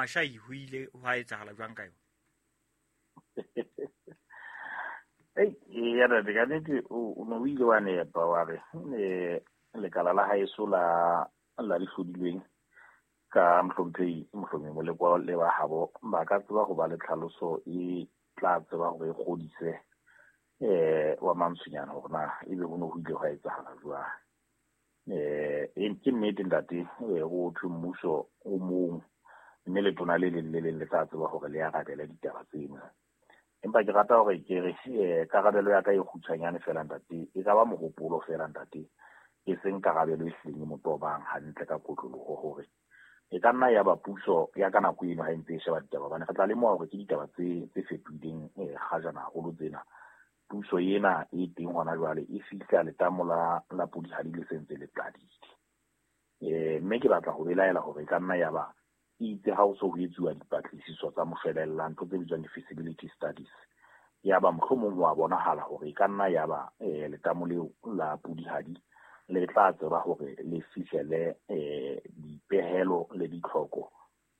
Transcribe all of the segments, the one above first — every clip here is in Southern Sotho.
Mashai ho ile hwa etsahala jwang ka yona? Ei, ya ntate, ka nnete o ne o ile wa nepa wa re lekala la haeso la dihlodilweng ka mohlomphehi Mohlomi Molekwa le ba habo ba ka tseba ho ba le tlhaloso e tla tseba hore e kgodise wa Mantsonyana hore na ebe ho ne ho ile hwa etsahala jwang. Ke nnete ntate, ho thwe mmuso o mong mme letona le leng le leng le tla tseba hore le arabele ditaba tseno. Empa ke rata hore ke re karabelo ya ka e kgutshwanyane feela ntate, e ka ba mohopolo feela ntate, e seng karabelo e hlileng e mo tobang hantle ka kotloloho hore e ka nna ya ba puso ya ka nako eno ha e ntse e sheba ditaba, hobane re tla lemoha hore ke ditaba tse fetohileng kgajana haholo tsena. Puso ena e teng hona jwale e fihla letamo la Pudihadi le sentse le qadile. Mme ke batla ho belaela hore e ka nna ya ba itse ha o so ho etsuwa dipatlisiso tsa moshwelella, ntho tse bitswang di-feasibility studies, ya ba mohlomong wa bonahala hore e ka nna ya ba letamo leo la Pudihadi le tla tseba hore le fihlele dipehelo le ditlhoko,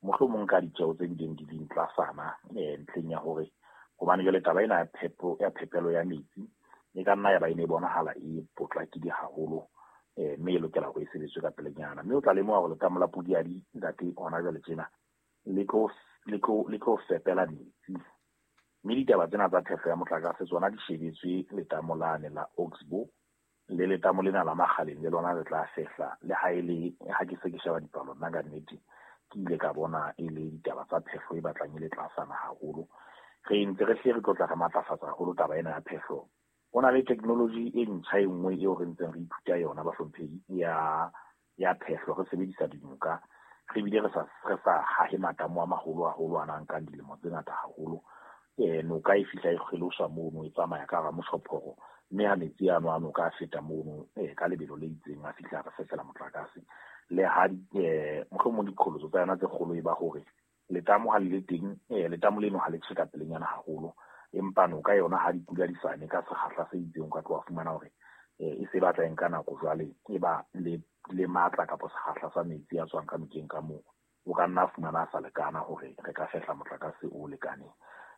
mohlomong ka ditjeo tse bileng di leng tlasana ntlheng ya hore hobane jwale taba ena ya phepelo ya metsi e ka nna ya ba e ne e bonahala e potlakile haholo, mme e lokela hore e sebetswe ka pelenyana. Mme o tla lemoha hore letamo la Pudihadi ntate hona jwale tjena le tlo fepela metsi, mme ditaba tsena tsa phehlo ya motlakase tsona di shebetswe letamo lane la Oxbow le letamo lena la Makgaleng le lona le tla fehla. Le ha e le ha ke se ke sheba dipalo nna ka nnete ke ile ka bona e le ditaba tsa phehlo e batlang e le tlasana haholo. Re ntse re hle re tlo tla re matlafatsa haholo taba ena ya phehlo. Ho na le technology e ntjha e nngwe eo re ntseng re ithuta yona bahlomphehi ya phehlo, re sebedisa dinoka, re bile re sa hahe matamo a maholo haholo a nang nkang dilemo tse ngata haholo. Noka e fihla e kgeloswa mono, e tsamaya ka hara moshophoro, mme ha metsi ano a noka a feta mono ka lebelo le itseng a fihla re fehlela motlakase. Le ha mohlomong diqholotso tsa yona tse kgolo e ba hore letamo ha le le teng, letamo leno ha le tjhe ka pelenyana haholo, empa noka yona ha dipula di sa ne ka sekgahla se itseng, o ka tloha fumana hore e se batla e nka nako jwale e ba le matla kapa sekgahla sa metsi a tswang ka nokeng ka moo, o ka nna fumana a sa lekana hore re ka fehla motlakase o lekaneng.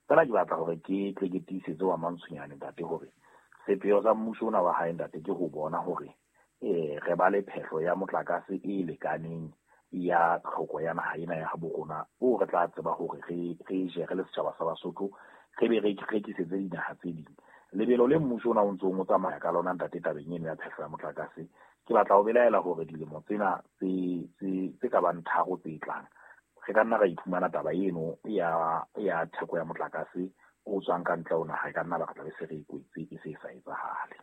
Fela ke batla hore ke tle ke tiisetse wa Mantshonyane ntate hore sepheo sa mmuso ona wa hae ntate ke ho bona hore re ba le phehlo ya motlakase e lekaneng ya tlhoko ya naha ena ya habo rona, o re tla tseba hore re je re le setjhaba sa Basotho, re be re rekisetse dinaha tse ding. Lebelo le mmuso ona o ntsong o tsamaya ka lona ntate tabeng eno ya phehlo ya motlakase, ke batla ho belaela hore dilemo tsena tse ka bang 3 tse tlang re ka nna ra iphumana taba eno ya theko ya motlakase o tswang ka ntle ho naha, e ka nna ba re tla be se re e kwetse e se e sa etsahale.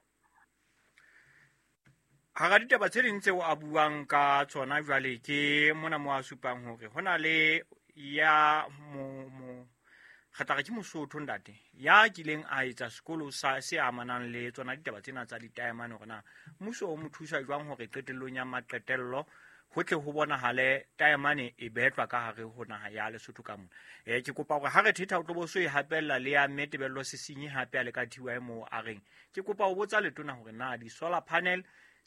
Hara ditaba tse ding tseo a buang ka tsona jwale ke mona mo a supang hore ho na le ya mo re tla re ke Mosotho ntate ya kileng a etsa sekolo sa se amanang le tsona ditaba tsena tsa ditaemane, hore na mmuso o mo thusa jwang hore qetellong ya maqetello ho tle ho bonahale taemane e betlwa ka hare ho naha ya Lesotho ka mona. Ke kopa hore ha re thetha o tlo bo so e hapella le ya mme Tebello Sesinyi hape a le ka TY moo a reng ke kopa ho botsa letona hore na di-solar panel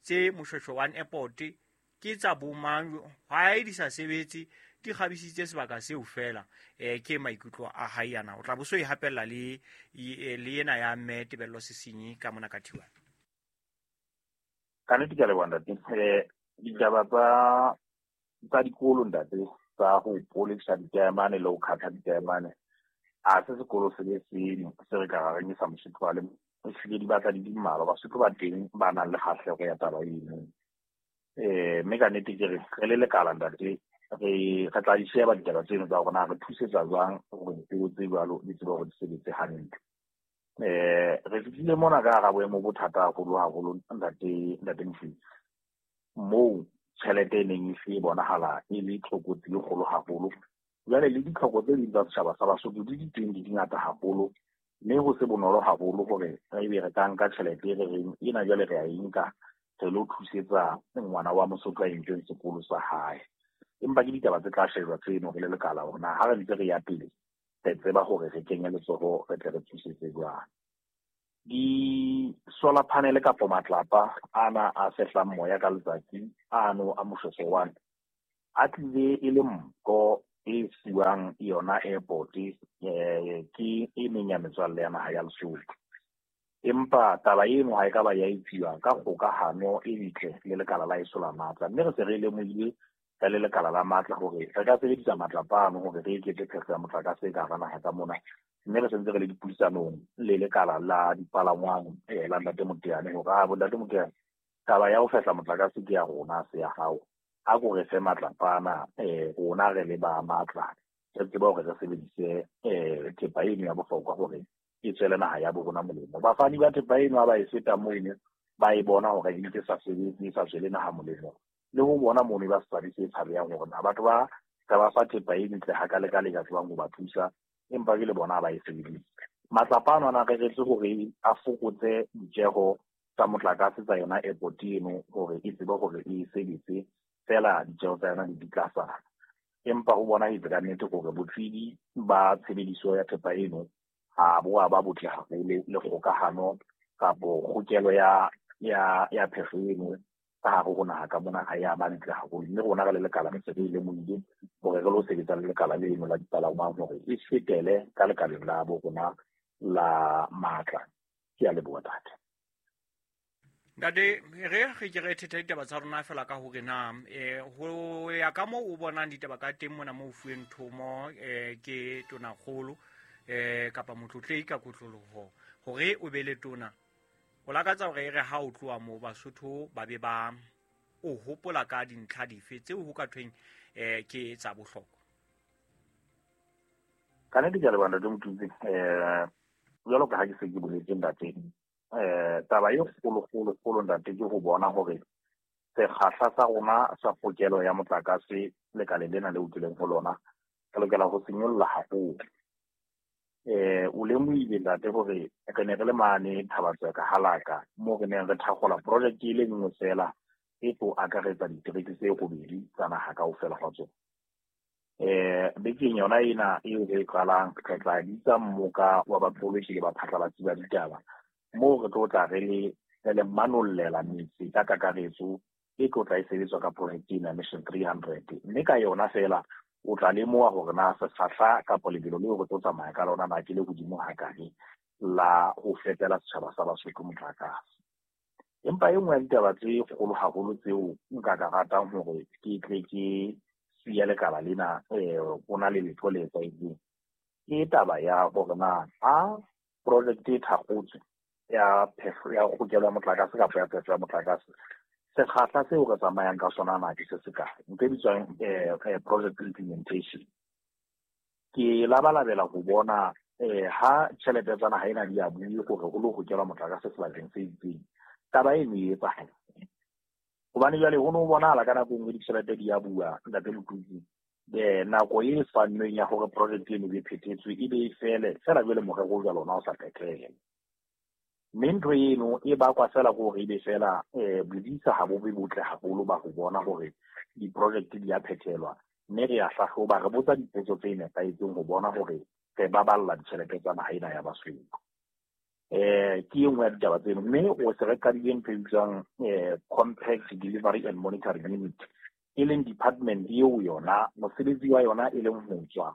tse Moshoeshoe One Airport ke tsa bomang, ha di sa sebetse di kgabisitse sebaka seo feela. Ke maikutlo a hae ana, o tla bo so e hapella le ena ya mme Tebello Sesinyi ka mona ka TY. Ka nnete ke a leboha ntate. Ditaba tsa dikolo ntate tsa ho polisa ditaemane le ho khatha ditaemane, a se sekolo se le seng se re ka ra reng sa Mosotho a le ehlile di batla di di mmalwa. Basotho ba teng ba nang le kgahleho ya taba eno. Mme ka nnete ke re re le lekala ntate, re tla di sheba ditaba tseno tsa hore na re thusetsa jwang hore dipeo tse jwalo di tsebe hore di sebetse hantle. Re fihlile mona ka hara boemo bo thata haholo haholo ntate Mofetsi, moo tjhelete e neng e se bonahala e le tlokotsi e kgolo haholo. Jwale le ditlhoko tse ding tsa setjhaba sa Basotho di di teng di di ngata haholo, mme ho se bonolo haholo hore re ebe re ka nka tjhelete e re reng ena jwale re a e nka re lo thusetsa ngwana wa Mosotho a entseng sekolo sa hae. Empa ke ditaba tse tla shejwa tseno re le lekala hore na ha re ntse re ya pele re tseba hore re kenye letsoho re tle re thusetse jwang. Di-solar panel kapa matlapa ana a fehlang moya ka letsatsi ano a Moshoeshoe One a tlile e le mpho e fuwang yona airport ke e meng ya metswalle ya naha ya Lesotho. Empa taba eno ha e ka ba ya etsuwa ka kgokahano e ntle le lekala la eso la matla, mme re se re lemohile re le lekala la matla hore re ka sebedisa matlapa ano hore re eketse phehlo ya motlakase ka hara naha ka mona. Mme re sentse re le dipuisanong le lekala la dipalangwang la Ntate Moteane hore a bo Ntate Moteane, taba ya ho fehla motlakase ke ya rona, se ya hao. A ko re fe matlapa ana, rona re le ba matla re tsebe hore re sebedise thepa eno ya bohlokwa hore e tswele naha ya bo rona molemo. Bafani ba thepa eno ha ba e feta mono, ba e bona hore e ntse sa sebetse, e sa tswele naha molemo, le ho bona mono ba setswabi se tshabehang hore na batho ba re ba fa thepa e ntle hakalekale ka tsebang ho ba thusa, empa ke le bona ba e sebedise. Matlapa ano a na reretswe hore a fokotse ditjeho tsa motlakase tsa yona airport eno hore e tsebe hore e sebetse fela ditjeho tsa yona di tlasana. Empa ho bonahetse ka nnete hore botswidi ba tshebediso ya thepa eno ha bo a ba botle haholo, le kgokahano kapo kgokelo ya phehlo eno ka hare ho naha ka mona ha ya ba ntle haholo. Mme rona re le lekala re se re lemohile hore re lo sebetsa le lekala leno la dipalangwang hore e fetele ka lekaleng la bo rona la matla. Ke a leboha, ntate. Ntate, re ke re thetha ditaba tsa rona fela ka hore na ho ya ka moo o bonang ditaba ka teng mona moo fuweng thomo ke tonakgolo kapa motlotlehi ka kotloloho hore o be le tona, o lakatsa hore e re ha o tloha moo Basotho ba be ba o hopola ka dintlha dife tseo ho ka thweng ke tsa bohlokwa? Ka nnete ke a leboha, Ntate Motutsi. Jwalo ka ha ke se ke boletse, ntate, taba e kgolo-kgolo-kgolo, ntate, ke ho bona hore sekgahla sa rona sa pokelo ya motlakase lekaleng lena leo ke leng ho lona re lokela ho se nyolla haholo. O lemohile, ntate, hore re ne re le mane Thabatsweka Halaka moo re neng re thakgola project e le nngwe fela e tlo akaretsa ditereke tse robedi tsa naha kaofela hwa tsona. Bekeng yona ena eo re e qalang, re tla bitsa mmoka wa baqolotsi le baphatlalatsi ba ditaba moo re tlo tla re le manollela metse ka kakaretso e tlo tla e sebetswa ka project ena Mission 300. Mme ka yona fela o tla lemoha hore na sekgahla kapa lebelo leo re tlo tsamaya ka lona na ke le hodimo hakae la ho fepela setjhaba sa Basotho motlakase. Empa e nngwe ya ditaba tse kgolo haholo tseo nka ka ratang hore ke tle ke siya lekala lena o na le letho le etsahetseng ke taba ya hore na ha project e thakgotswe ya phehlo ya kgokelo ya motlakase kapa ya phehlo ya motlakase, sekgahla seo re tsamayang ka sona na ke se se kae, ntho e bitswang project implementation. Ke labalabela ho bona ha tjhelete tsa naha ena di a bue hore ho lo hokelwa motlakase sebakeng se itseng, taba eno e etsahala. Hobane jwale ho no bonahala ka nako e nngwe ditjhelete di a bua, Ntate Motutsi, nako e fannweng ya hore project eno e phethetswe e be e fele fela, jwale morero o jwalo ona o sa phethela. Mme ntho eno e bakwa fela ke hore ebe fela bodisa ha bo be botle haholo ba ho bona hore di-project di a phethelwa, mme re a hlahloba, re botsa dipotso tse nepahetseng ho bona hore re baballa ditjhelete tsa naha ena ya Basotho. Ke e nngwe ya ditaba tseno. Mme o se re qadile ntho e bitswang Compact Delivery and Monitoring Unit, e leng department eo yona mosebetsi wa yona e leng ho tswa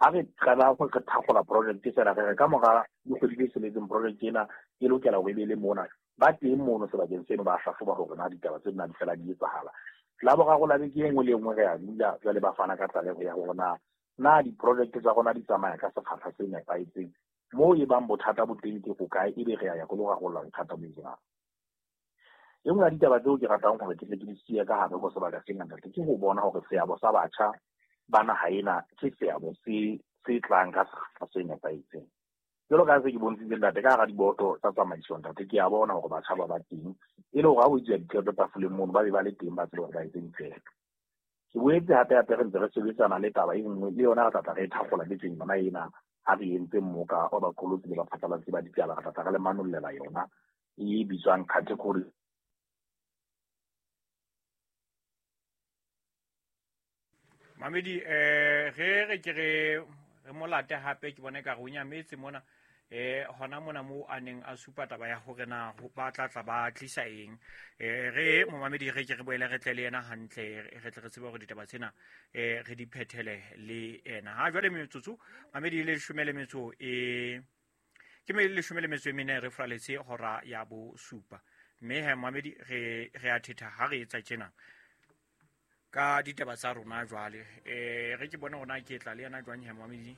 ha re qala ho re thakgola project fela, re re ka mora dikgwedi tse tsheletseng project ena e lokela hore e be le mona, ba teng mono sebakeng seno ba hlahloba hore na ditaba tsena di fela di etsahala. La boraro la beke e nngwe le e nngwe re a dula jwale ba fana ka tlaleho ya hore na di-project tsa rona di tsamaya ka sekgahla se nepahetseng, moo e bang bothata bo teng ke hokae, ebe re a ya ho lo rarolla bothata bo jwang. E nngwe ya ditaba tseo ke ratang hore ke tle ke di siye ka hare ho sebaka sena, ntate, ke ho bona hore seabo sa batjha ba naha ena ke seabo se tlang ka sekgahla se nepahetseng. Jwalo ka ha se ke bontshitse, ntate, ka hara diboto tsa tsamaiso, ntate, ke a bona hore batjha ba ba teng, e le hore ha ho etsuwa diqeto tafoleng mono ba be ba le teng, ba tsebe hore ba etse diqeto. Ke boetse hape hape re ntse re sebetsana le taba e nngwe le yona re tla tla re e thakgola bekeng yona ena ha re entse mmoka wa baqolotsi le baphatlalatsi ba ditaba, re tla tla re le manollela yona e bitswang category. Mamedi, re re ke re molate hape, ke bona ekare o nyametse mona. Hona mona moo a neng a supa taba ya hore na ba tla tla ba tlisa eng. Re momamedi, re ke re boele re tle le yena hantle, re tle re tsebe hore ditaba tsena re di phethele le ena. Ha jwale metsotso mamedi le leshome le metso e ke me 14 re fraletse hora ya 7. Mme he momamedi, re a thetha ha re etsa tjena ka ditaba tsa rona jwale. Re ke bone hore na ke tla le yena jwang he momamedi.